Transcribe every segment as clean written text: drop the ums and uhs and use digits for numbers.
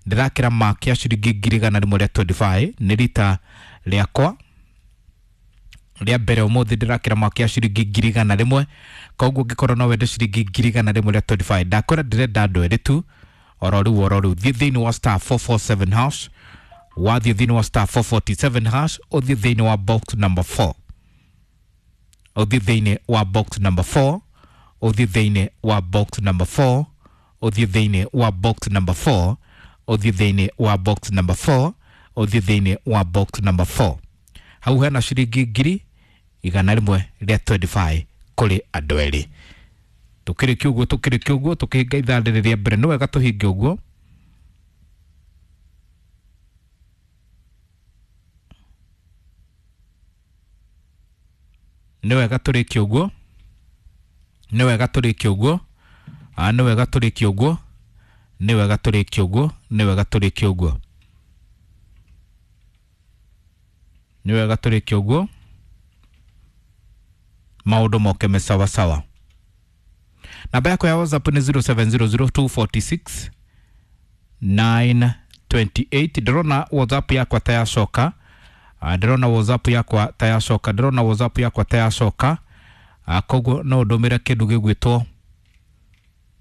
Ndĩrakĩra mark ya ciringi 125 nĩ rita rĩakwa rĩa mbere ũmũthĩ ndĩrakĩra mark ya ciringi 100,000. Koguo ũngĩkorwo no wende ciringi 125,000, ndakwĩra ndĩrenda andũ erĩ tu oro rĩu oro rĩu. Thiĩ thĩinĩ wa star 447 hash, wathiĩ thĩinĩ wa star 447 hash, ũthiĩ thĩinĩ wa box number 4, ũthiĩ thĩinĩ wa box number 4, ũthiĩ thĩinĩ wa box number 4, ũthiĩ thĩinĩ wa box number 4, ũthiĩ thĩinĩ wa box number 4, ũthiĩ thĩinĩ wa box number 4. Hau hena ciringi 125,000 kũrĩ andũ erĩ. Tũkĩrĩkia ũguo, tũkĩrĩkia ũguo, tũkĩhinga ithaa rĩrĩ rĩa mbere, nĩ wega tũhinge ũguo. Nĩ wega tũrĩkie ũguo, nĩ wega tũrĩkie ũguo, nĩ wega tũrĩkie ũguo, nĩ wega tũrĩkie ũguo, nĩ wega tũrĩkie ũguo, nĩ wega tũrĩkie ũguo, maũndũ moke me sawa sawa. Namba yakwa ya WhatsApp nĩ 0700 246 928. Ndĩrona WhatsApp yakwa ta yacoka. Ndĩrona WhatsApp yakwa ta yacoka, ndĩrona WhatsApp yakwa ta yacoka. Koguo no ndũmĩre kĩndũ gĩgwĩtwo,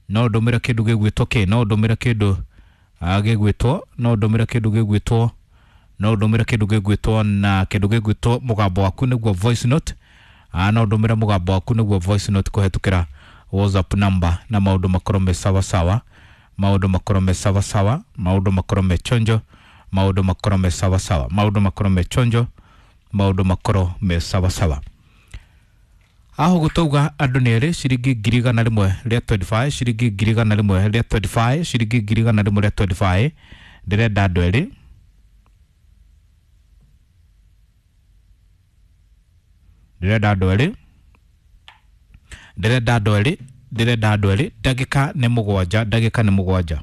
no ndũmĩre kĩndũ gĩgwĩtwo kĩ, no ndũmĩre kĩndũ gĩgwĩtwo, no ndũmĩre kĩndũ gĩgwĩtwo, no ndũmĩre kĩndũ gĩgwĩtwo na kĩndũ gĩgwĩtwo mũgambo waku nĩguo voice note. No ndũmĩre mũgambo waku nĩguo voice note kũhetũkĩra WhatsApp number, na maũndũ makorwo me sawa sawa, maũndũ makorwo me sawa sawa, maũndũ makorwo me chonjo, maũndũ makorwo me sawa sawa, maũndũ makorwo me chonjo, maũndũ makorwo me sawa sawa. Aho gũtauga andũ nĩ erĩ, ciringi 125,000, ciringi 125,000, ciringi 125,000. Ndĩrenda andũ erĩ, ndĩrenda andũ erĩ, ndĩrenda andũ erĩ, ndĩrenda andũ erĩ. Ndagĩka nĩ 7, ndagĩka nĩ 7.